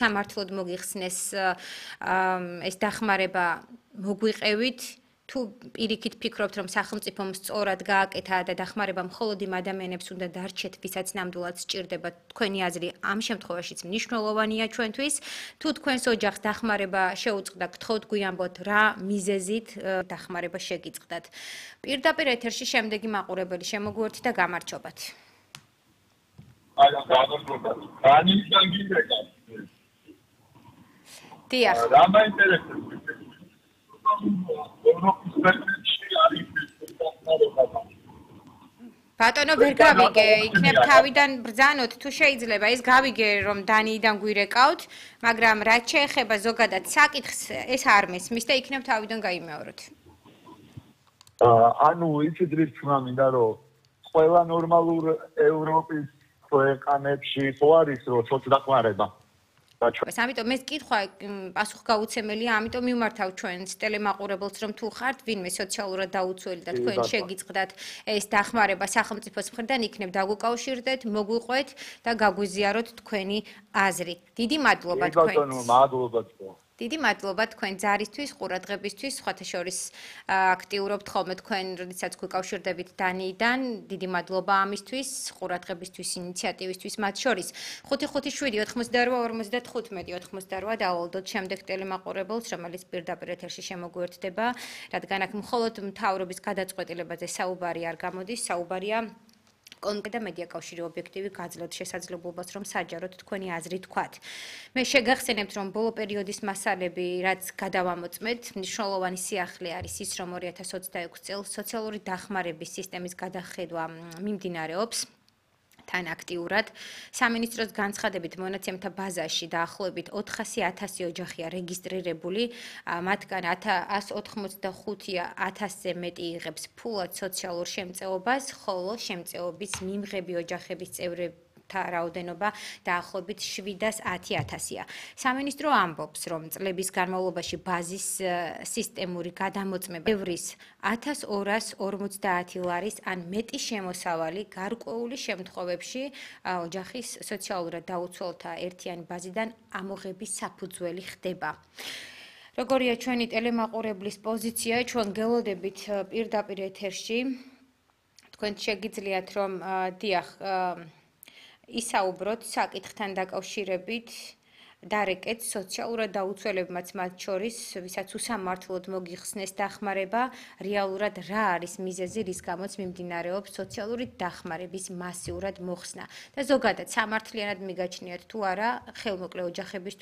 სამართლოდ მოგიხსნეს ეს დახმარება მოგვიყევით თუ პირიქით ფიქრობთ რომ სახელმწიფომ სწორად გააკეთა და დახმარება მხოლოდ იმ ადამიანებს უნდა დარჩეთ ვისაც ნამდვილად სჭირდება თქვენი აზრი ამ შემთხვევაშიც მნიშვნელოვანია ჩვენთვის თუ თქვენს ოჯახს დახმარება შეუწყდა გთხოვთ გვიამბოთ რა მიზეზით დახმარება შეგიწყდათ პირდაპირ ეთერში შემდეგი მაყურებელი შემოგვიერთით და გამარჯობათ დიახ რა მაინტერესებს ბატონო ვერ გავიგე, იქნებ თავიდან ბრძანოთ თუ შეიძლება ის გავიგე რომ დანიიდან გვირეკავთ, მაგრამ რაც შეეხება ზოგადად საკითხს ეს არ მესმის და იქნებ თავიდან გაიმეოროთ. ანუ იცით რის თქმა მინდა რომ ყველა ნორმალურ ევროპის ქვეყანებში ხო არის რომ სოცდახმარება ამიტომ ეს კითხვა პასუხგაუცემელია, ამიტომ მიმართავ ჩვენს ტელემაყურებელს, რომ თუ ხართ ვინმე სოციალურად დაუცველი და თქვენ შეგიწყდათ ეს დახმარება სახელმწიფოს მხრიდან, იქნებ დაგვიკავშირდეთ, მოგვიყვეთ და გაგვიზიაროთ თქვენი აზრი. დიდი მადლობა თქვენს. ბატონო, მადლობა თქვენ. დიდი მადლობა თქვენ ძარისთვის, ყურადღებისთვის, სხვათა შორის აქტიურობთ ხოლმე თქვენ, როდესაც გვიკავშირდებით დანიიდან. დიდი მადლობა ამისთვის, ყურადღებისთვის, ინიციატივისთვის მათ შორის. 558-92-55-98 დავალდოთ შემდეგ ტელემაყურებელს, რომელიც პირდაპირ ეთერში შემოგვიერთდება, რადგან აქ მხოლოდ მთავრობის გადაწყვეტილებაზე საუბარი არ გამოდის, საუბარია კონკრეტად მედია კავშირი ობიექტივი გაძლევთ შესაძლებლობას რომ საჯაროდ თქვენი აზრი თქვათ. მე შეგახსენებთ რომ ბოლო პერიოდის მასალები რაც გადავამოწმეთ, მნიშვნელოვანი სიახლე არის ის რომ 2026 წელს სოციალური დახმარების სისტემის გადახედვა მიმდინარეობს. თან აქტიურად სამინისტროს განცხადებით მონაცემთა ბაზაში დაახლოებით 400,000 ოჯახია რეგისტრირებული, მათგან 185,000-ზე მეტი იღებს ფულად სოციალურ შემწეობას, ხოლო შემწეობის მიმღები ოჯახების წევრები რაოდენობა დაახლოებით 710,000-ია. სამინისტრო ამბობს, რომ წლების განმავლობაში ბაზის სისტემური გადამოწმება ევრის 1250 ლარის ან მეტი შემოსავალი გარკვეული შემთხვევებში ოჯახის სოციალურად დაუცველთა ერთიანი ბაზიდან ამოღების საფუძველი ხდება. როგორია ჩვენი ტელემაყურებლის პოზიცია, ჩვენ გელოდებით პირდაპირ ეთერში. თქვენ შეგიძლიათ რომ დიახ ისაუბროთ საკითხთან დაკავშირებით დარეკეთ სოციალურად დაუცველებმაც მათ შორის, ვისაც უსამართლოდ მოგიხსნეს დახმარება, რეალურად რა არის მიზეზი, რის გამოც მიმდინარეობს სოციალური დახმარების მასიურად მოხსნა და ზოგადად სამართლიანად მიგაჩნიათ თუ არა ხელმოკლე ოჯახებისთვის